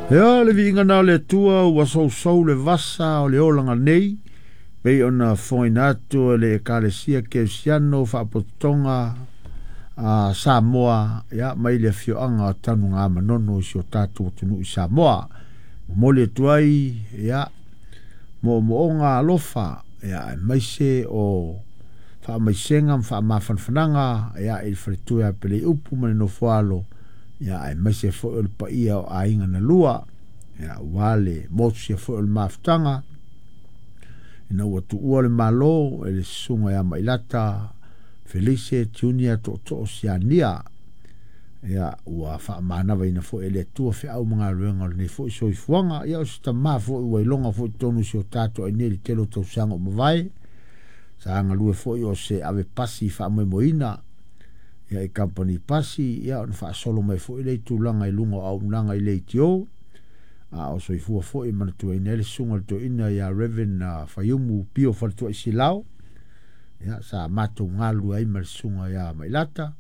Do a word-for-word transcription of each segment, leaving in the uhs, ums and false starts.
Ia le viiga na o le Atua ua sousou le vasa o le olaga nei, pei ona fofogaina atu e le Ekalesia Kerisiano Faapotopotoga a Samoa, ia mai le afioaga o Tanugamanono i si o tatou atunuu i Samoa. Momoli atu ai ia moomooga alofa, ia aemaise o faamaisega ma faamafanafanaga ia i le faletua ia Peleiupu ma le nofoalo, ia aemaise foi o le paia o aiga na lua, ia aua le motusia foi o le mafutaga ina ua tuua le Malo e le susuga ia Mailata Felice Junior Tootoo Siania. Ia ua faamanavaina foi e le Atua feau ma galuega o lenei foi soifuaga. Ia o se tamā foi ua iloga foi totonu i si o tatou ai nei i le tele o tausaga ua mavae, sa galue foi o se ave pasi faamoemoeina ia i kamupani pasi, ia ona faasolo mai foi lea i tulaga i luga o auaunaga i leitio, a o soifua foi e manatuaina ai le susuga i le toeaina ia Reverend Faiumu Pio Faletuai Silao, ia sa matou galulue ai ma le susuga ia Mailata.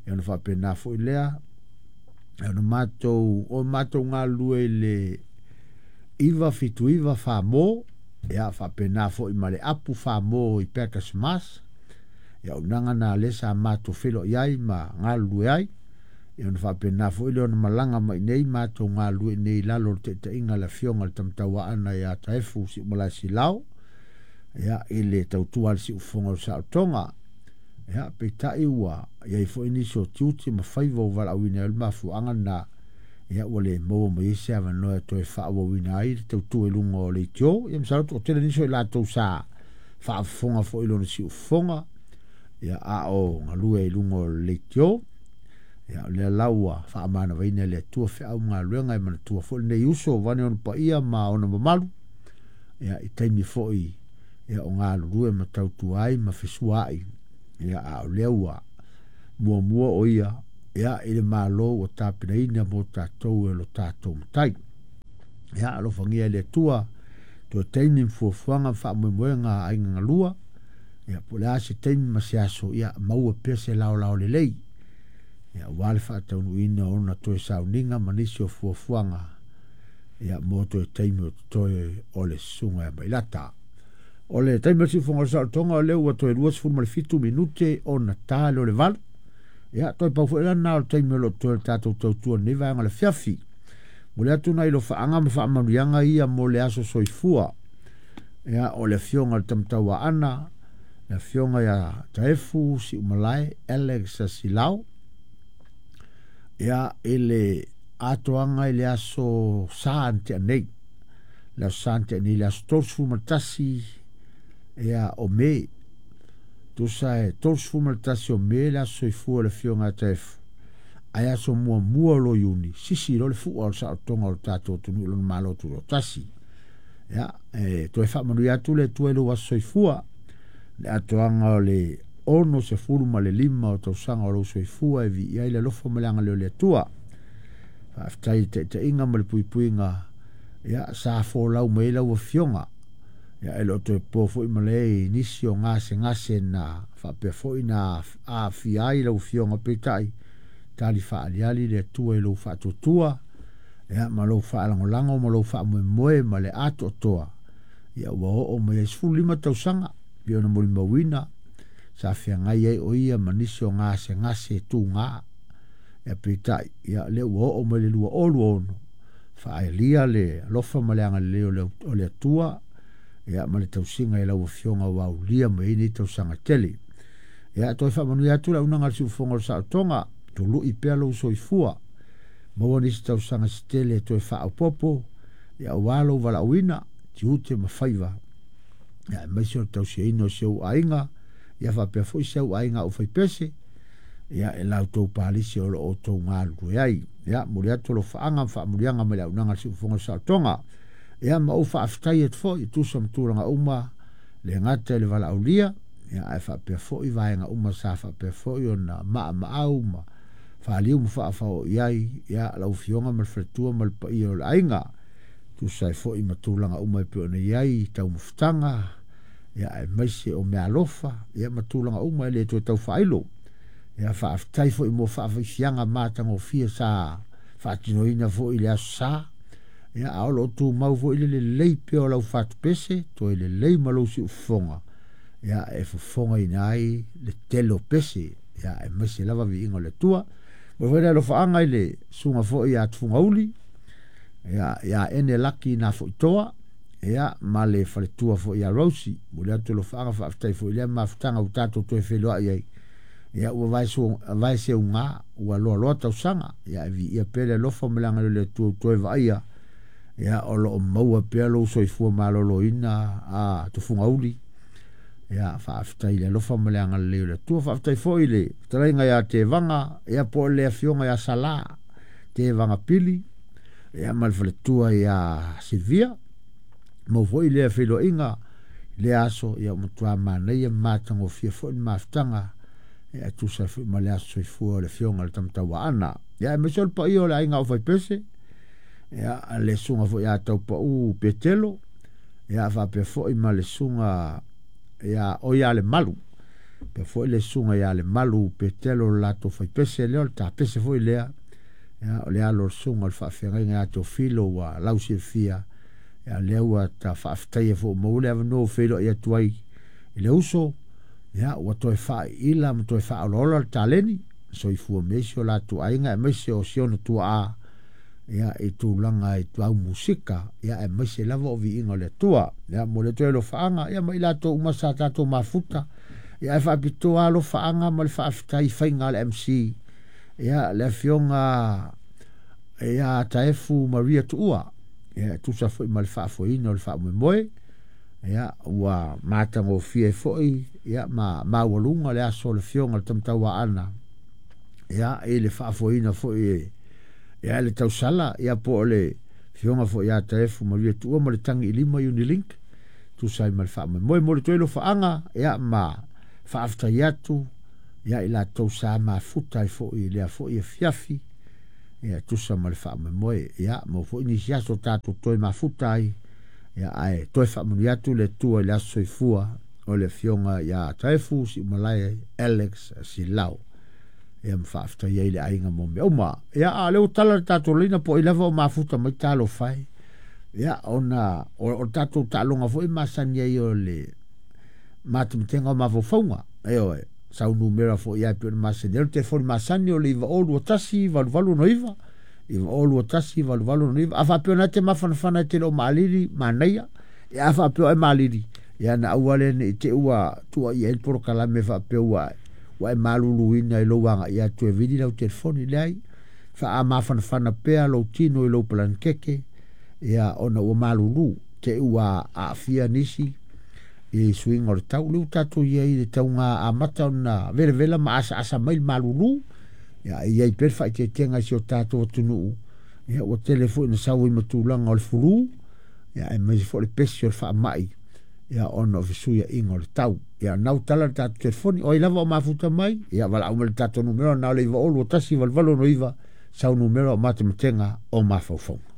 Ia ona faapena foi lea ona matou o matou galulue i le iva fitu iva famo, ia faapena foi ma le apu famo i Packers Mas. Ia auaunaga na lea sa matou feiloai ai ma galulue ai. Ia ona faapena foi lea ona malaga mai nei matou galulue nei i lalo o le taitaiga a le afioga i le Tamatauaana ia Taefu Siumalae Silao, ia i le tautua a le siufofoga o le saolotoga. Ia peitai ua iai foi nisi o tiute ma faiva ua valaauina ai o le mafuaaga lena, ia ua le maua mai ai se avanoa e toe faaauauina ai le tautua i luga o leitio. Ia masalo toatele nisi o i latou sa faafofoga foi i lona siufofoga, ia a o galue i luga o le leitio. Ia o lea la ua faamanavaina e le Atua feau ma galuega e manatua foi lenei uso vaeane ona paia ma ona mamalu, ia i taimi foi ia o galulue ma tautua ai ma fesuaai. Ia a o lea ua muamua o ia ia i le Malo ua tapenaina mo tatou e lo tatou Matai. Ia alofagia e le Atua toe taimi ma fuafuaga ma faamoemoega a aiga galua, ia po o le a se taimi ma se aso, ia maua pea se laolao lelei, ia aua le faataunuuina o ona toe sauniga ma nisi o fuafuaga, ia mo toe taimi o totoe o le susuga ia Mailata. O le taimi o le siufofoga o le saolotoga o lea ua toe luasefulu ma le fitu minute ona ta lea o le valu. Ia toe pau foi lena o le taimi o lo o totoe o le tatou tautua i lenei vaega o le afiafi. Momoli atu nai lofaaga ma faamanuiaga ia mo le aso soifua. Ia o le afioga i le Tamatauaana, le afioga ia Taefu Siumalae Alex Silao, ia i le atoaga i le aso Sa na tea nei, le aso Sa na tea nei, le aso tolusefulu ma le tasi ia o Me, tusa e tolusefulu ma le tasi o Me le aso soifua o le afioga ia Taefu, ae aso muamua o lo Iuni, sisi loa le fua o le saolotoga o le tatou atunuu i lona Malo Tutoatasi. Ia, e toe faamanuia atu le Atua i lou aso soifua, le atoaga o le onosefulu ma le lima o tausaga o lou soifua e viia ai le alofa ma le agalelei o le Atua. Faafetai i le taitaiga ma le puipuiga, ia sa folau mai ai lau afioga. Ia e le o toe po foi ma le i nisi o gasegase na faapea foi na aafia ai lau afioga, peitai tali faaliali le Atua i lou faatuatua, ia ma lou faalagolago ma lou faamoemoe ma le atoatoa. Ia ua oo mai ai sefulu lima tausaga pei ona molimauina sa feagai ai o ia ma nisi o gasegase tuga. Ia peitai ia lea ua oo mai le lua o lua ono, faaelia le alofa ma le agalelei o le Atua, ia ma le tausiga i lau afioga ua aulia mai ai nei tausaga tele. Ia toe faamanuia atu le auaunaga a le siufofoga o le saolotoga, tului pea lou soifua, maua nisi tausaga se tele e toe faaopoopo, ia aua lou valaauina, tiute ma faiva, ia aemaise o le tausiaina o si ou aiga, ia faapea foi si au aiga aufaipese, ia e la outou palisi o lo o outou galulue ai. Ia momoli atu alofaaga ma faamanuiaga mai le auaunaga a le siufofoga o le saolotoga. Ia ma ou faafetai atu foi e tusa ma tulaga uma, le gata i le valaaulia, ia ae faapea foi vaega uma sa faapea foi ona maamaau ma faaliu ma faafao i ai, ia lau afioga ma le faletua ma le paia o le aiga, tusa ai foi ma tulaga uma e pei ona i ai taumafataga, ia aemaise o meaalofa, ia ma tulaga uma e le toe tau faailo. Ia faafetai foi mo faafaifiaga matagofie sa faatinoina foi i le aso Sa, Ia a o loo tumau foi le lelei pea o lau fatupese toe lelei ma lou siufofoga ia e fofogaina ai le tele o pese ia aemaise lava viiga o le Atua. Mo foi le alofaaga i le susuga foi ia Tufugauli ia ia ene laki na foitoa ia ma le faletua foi ia Rosi. Mo le atu alofaaga faafetai foi lea mafutaga ua tatou toe feiloai ai ia ua vae vaeseuga ua loaloa tausaga ia e viia pea le alofa ma le agalelei o le Atua ua toe vaaia ia o loo maua pea lou soifua maloloina a Tufugauli. Ia faafetai i le alofa ma le agalelei o le Atua. Faafetai foi i le fetalaiga ia Tevaga ia po o le afioga ia Sala Tevaga Pili ia ma le faletua ia Silvia. Maua foi lea feiloaiga i lea aso ia ua matua manaia ma matagofie foi le mafutaga ia e tusa ai foi ma le aso soifua o le afioga i le Tamatauaana. Ia aemaise o le paia o le aiga o Faipese ia le susuga foi ia Taupau Petelo ia faapea foi ma le susuga ia o ia le Malu faapea foi le susuga ia le Malu Petelo le latou faipese lea o le tapese foi lea ia o le alo o le susuga o le faafeagaiga ia Teofilo ua lausilafia ia lea ua ta faafetaia foi ua maua le avanoa ua feiloai atu ai i le uso ia ua toe faaiila ma toe faaolaola le taleni soifua ma isi o latou aiga aemaise o si ona tuaa ia i tulaga i tau musika ia aemaise lava o viiga o le Atua. Ia mo le toe alofaaga ia ma i latou uma sa tatou mafuta ia ae faapitoa alofaaga ma le faafetai faiga a le M C ia le afioga ia Taefu Maria Tuua ia e tusa foi ma le faafoeina o le faamoemoe ia ua matagofie foi ia ma maualuga le aso o le afioga i le Tamatauaana ia i le faafoeina foi ia le tausala ia po o le afioga foi ia Taefu Maria Tuua ma le tagi i lima Unilink tusa ai ma le faamoemoe. Mo le toe alofaaga ia ma faafetai atu ia i latou sa mafuta ai foi i lea foi afiafi ia tusa ma le faamoemoe ia mo foi nisi aso tatou toe mafuta ai ia ae toe faamanuia atu le Atua i le aso soifua o le afioga ia Taefu Siumalae Alex Silao ia ma faafetai ai le aiga mo mea uma. Ia a o lea ua tala le tatou laina po o ai lava o mafuta mai talofa e ia ona o, o tatou taaloga foi masani ai o le matematega o mafaufauga ioe sau numera foi ai pe o le masani ai le telefoni masani o le iva o lua tasi valu valu ono iva iva o lua tasi valu valu ono iva. A faapea ona e te mafanafana e te le o maalili manaia ia a faapea e maalili ia na aua le nei te ua tuuaia ai le polokalame faapea ua ua e maluluina i lou agaia atu e vili lau telefoni leai faamafanafana pea lou tino i lou palanikeke ia ona ua malulu te ua aafia nisi i suiga o le tau. Lea ua tatou iai i le tauga amata ona velevela ma asaasa mai le malulu ia e iai pea le faaeteetega i si o tatou atunuu ia ua tele foi na sau ai ma tulaga o le fulu ia aemaise foi le pesi o le faamai ia ona o fesuiaiga o le tau. Ia nau tala le tatou telefoni o ai lava o mafuta mai ia valaau mai le tatou numera na o le iva o lua tasi valu valu ono iva sau numera o matematega o mafaufauga.